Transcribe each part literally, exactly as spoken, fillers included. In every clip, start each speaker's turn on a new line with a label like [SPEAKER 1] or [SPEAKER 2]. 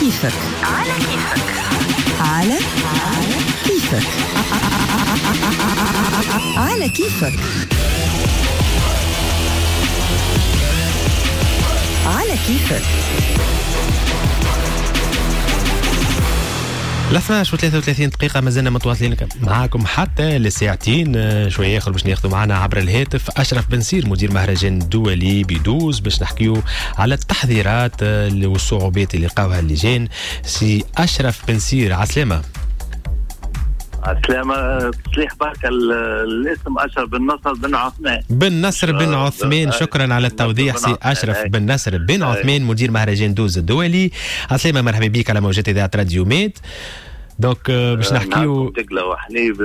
[SPEAKER 1] كيفك، على كيفك، على كيفك، على كيفك، على كيفك.
[SPEAKER 2] اثناش وثلاثة وثلاثين دقيقة ما زلنا متواصلين معاكم حتى لساعتين شوية آخر باش ناخذوا معنا عبر الهاتف أشرف بنسير مدير مهرجان دولي بدوز باش نحكيو على التحضيرات والصعوبات اللي لقاوها اللجان. سي أشرف بنسير، عسلامة.
[SPEAKER 3] عسلامة، تصليح بركة الاسم أشرف بن نصر بن عثمان.
[SPEAKER 2] بن نصر بن عثمان، شكرا على التوضيح سي أشرف بن نصر بن عثمان مدير مهرجان دوز الدولي. عسلامة، مرحبا بك على موجات إذاعة راديو ميد. donc باش نحكيو
[SPEAKER 3] دقلة وحليب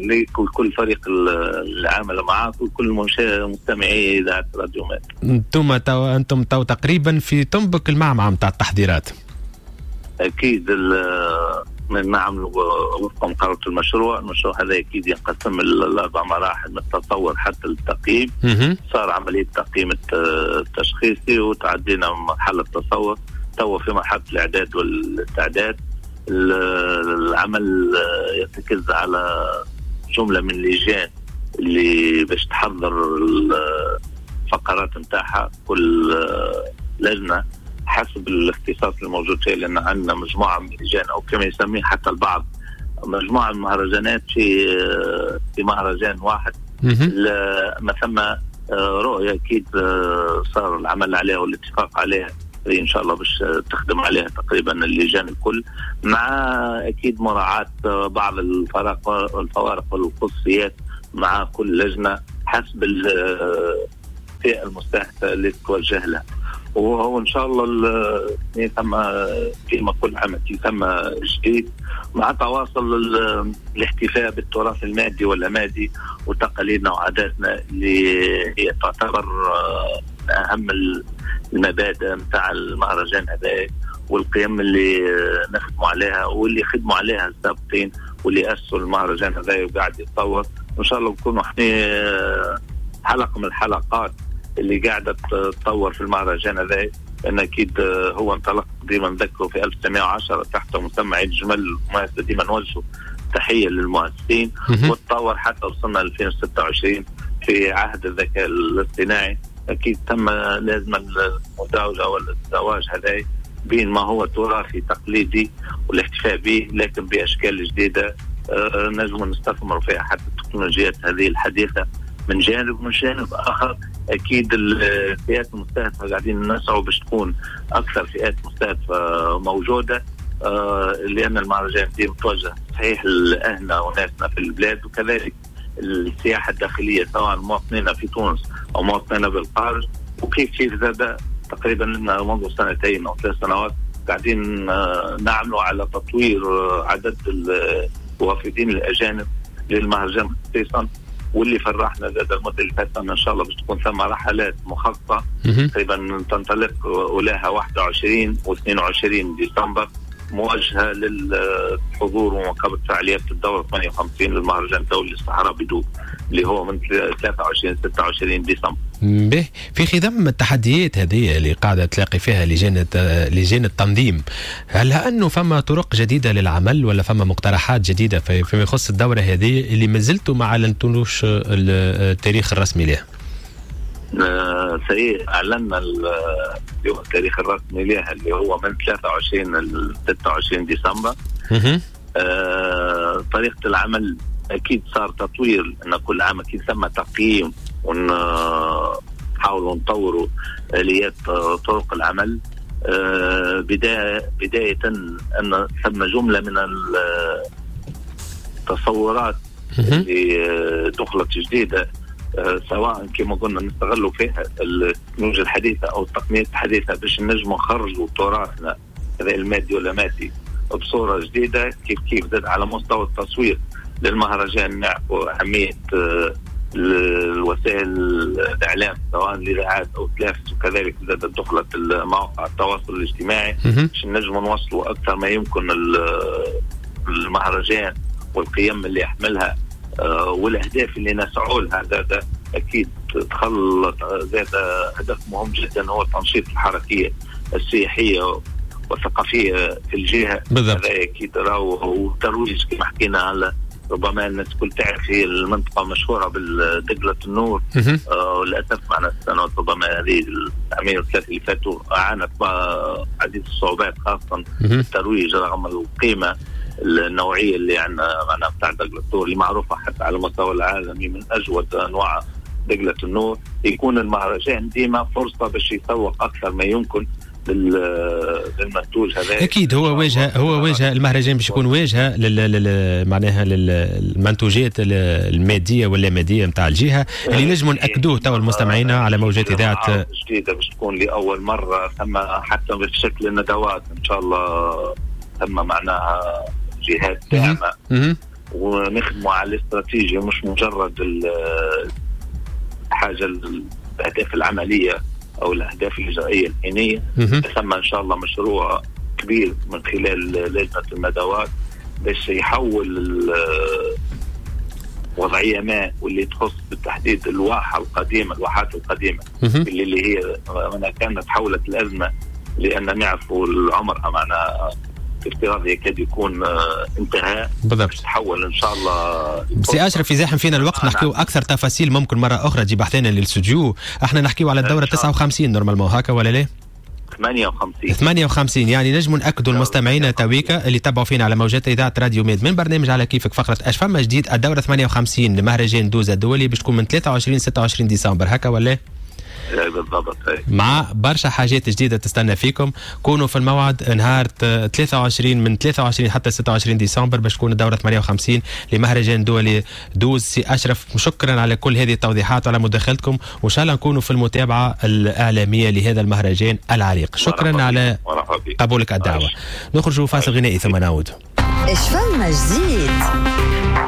[SPEAKER 3] ليك وكل فريق العمل معاك وكل مستمعي إذاعة راديو ميد.
[SPEAKER 2] انتم تو انتم تو تقريبا في تنبك المعمعة نتاع التحضيرات.
[SPEAKER 3] أكيد من نعمل وفق مقاربة المشروع. المشروع هذا أكيد ينقسم لأربع مراحل من التطور حتى التقييم. صار عملية تقييم التشخيصي وتعدينا من مرحلة التصور، تو في مرحلة الإعداد والتعداد. العمل يرتكز على جملة من اللجان اللي باش تحضر الفقرات نتاعها، كل لجنة حسب الاختصاص الموجود فيه، لأن عندنا مجموعة من اللجان أو كما يسميه حتى البعض مجموعة من المهرجانات في في مهرجان واحد. ما ثم رؤية أكيد صار العمل عليها والاتفاق عليها إن شاء الله باش تخدم عليها تقريبا اللجان الكل، مع أكيد مراعاة بعض الفرق الفوارق والخصوصيات مع كل لجنة حسب الفئة المستهدفة اللي تتوجه لها. وهو إن شاء الله ثم كما كل عام ثم جديد مع تواصل الاحتفاء بالتراث المادي واللامادي وتقاليدنا وعاداتنا اللي هي تعتبر أهم المبادئ متاع المهرجان هذا والقيم اللي نخدموا عليها واللي خدموا عليها السابقين واللي أسسوا المهرجان هذا وقاعد يتطور. وإن شاء الله نكونوا احنا حلقة من الحلقات اللي قاعدة تتطور في المهرجان هذا، لأن أكيد هو انطلق ديما نذكره في ألف وتسعمائة وعشرة تحت مسمى عيد جمل المؤسسة، ديما نوجه تحية للمؤسسين، وتطور حتى وصلنا ألفين وستة وعشرين في عهد الذكاء الاصطناعي. أكيد تم لازم المزاوجة والزواج هذا بين ما هو تراثي تقليدي والاحتفاء به، لكن بأشكال جديدة نجم نستثمر فيها حتى التكنولوجيات هذه الحديثة من جانب، من جانب آخر أكيد الفئات المستهدفة قاعدين نسعوا باش تكون أكثر فئات مستهدفة موجودة، لأن المهرجان دي متوجه صحيح لأهلنا وناسنا في البلاد، وكذلك السياحة الداخلية سواء مواطنينا في تونس أو مواطنينا بالخارج. وكيف كيف زاد تقريبا لنا منذ سنتين أو ثلاث سنوات قاعدين نعملوا على تطوير عدد الوافدين الأجانب للمهرجان خصيصا، واللي فرحنا زاد المدة اللي فاتت إن شاء الله باش تكون ثم رحلات مخصصة تقريبا تنطلق أولاها واحد وعشرين واثنين وعشرين ديسمبر موجهة للحضور ومواكبة فعاليات الدورة ثمانية وخمسين للمهرجان الدولي للصحراء بدوز اللي هو من ثلاثة وعشرين ستة وعشرين ديسمبر.
[SPEAKER 2] به في خضم التحديات هذه اللي قاعدة تلاقي فيها لجان لجان التنظيم، هل أنه فما طرق جديدة للعمل ولا فما مقترحات جديدة فيما يخص الدورة هذه اللي ما زلتوا ما أعلنتوش التاريخ الرسمي لها؟
[SPEAKER 3] سي أعلنا التاريخ الرسمي لها اللي هو من ثلاثة وعشرين ل ستة وعشرين ديسمبر. آه، طريقة العمل أكيد صار تطوير، أن كل عام أكيد ثم تقييم ونحاولوا نطوروا آليات طرق العمل. آه، بداية بداية أن ثم جملة من التصورات اللي دخلت جديدة، سواء كما قلنا نستغلوا فيها التكنولوجيا الحديثة أو التقنيات الحديثة باش نجموا نخرجوا تراثنا هذا المادي ولا مادي بصورة جديدة. كيف كيف زاد على مستوى التصوير للمهرجان نعرفوا أهمية الوسائل الإعلام سواء الإذاعات أو التلفز، وكذلك زاد دخلت مواقع التواصل الاجتماعي باش نجموا نوصلوا أكثر ما يمكن المهرجان والقيم اللي يحملها والأهداف اللي نسعوا لها. زاد أكيد تخلط زاد هدف مهم جدا هو تنشيط الحركية السياحية والثقافية في الجهة.
[SPEAKER 2] بالضبط.
[SPEAKER 3] هذا اكيد راهو وترويج كما حكينا على ربما الناس الكل تعرف هي المنطقة مشهورة بالدقله النور. آه للاسف معنا السنوات ربما هذه العامين الثلاثة اللي فاتوا عانت عديد الصعوبات خاصة الترويج رغم القيمة النوعية اللي عندنا معنا بتاع دقله النور اللي معروفة حتى على المستوى العالمي من اجود انواع دقله النور. يكون المهرجان ديما فرصة باش يسوق اكثر ما يمكن للمنتوج هذا.
[SPEAKER 2] اكيد هو واجهه، هو واجهه المهرجان باش يكون واجهه لل معناها للمنتوجات المادية واللاماديه نتاع الجهة اللي نجموا ناكدوه تو المستمعين على موجات اذاعة
[SPEAKER 3] جديدة باش تكون لاول مرة ثم حتى بشكل الندوات ان شاء الله ثم معناها جهات داعمه ونخدموا على الاستراتيجية مش مجرد الحاجة الاهداف العملية او الاهداف الاجرائيه الحينيه. ثم ان شاء الله مشروع كبير من خلال لجنة الندوات باش يحول وضعية ما واللي تخص بالتحديد الواحه القديمة، الواحات القديمة اللي, اللي هي كانت تحولت الازمة لان نعرفوا العمر معنا افتراضي يكاد يكون انتهى.
[SPEAKER 2] بالضبط.
[SPEAKER 3] تحول ان شاء الله.
[SPEAKER 2] سي اشرف يزاحم فينا الوقت نحكيو اكثر تفاصيل ممكن مرة اخرى تجيب بحثنا للاستوديو. احنا نحكيو على الدورة تسعة وخمسين normalement هكا ولا لا؟
[SPEAKER 3] ثمانية وخمسين
[SPEAKER 2] ثمانية وخمسين يعني نجموا ناكدوا المستمعين تويكا اللي تبعوا فينا على موجات اذاعة راديو ميد من برنامج على كيفك فقره اش فما جديد الدورة ثمانية وخمسين لمهرجان دوزة الدولي باش تكون من ثلاثة وعشرين ستة وعشرين ديسمبر هكا ولا؟
[SPEAKER 3] بالضبط.
[SPEAKER 2] مع برشا حاجات جديدة تستنى فيكم. كونوا في الموعد نهار ثلاثة وعشرين من ثلاثة وعشرين حتى ستة وعشرين ديسمبر باش تكون الدورة ثمانية وخمسين لمهرجان دولي دوز. سي اشرف شكرا على كل هذه التوضيحات وعلى مداخلتكم وان شاء الله نكونوا في المتابعة الاعلامية لهذا المهرجان العريق. شكرا على قبولك الدعوة. نخرج فاصل غنائي ثم نعود.
[SPEAKER 1] ايش فما جديد؟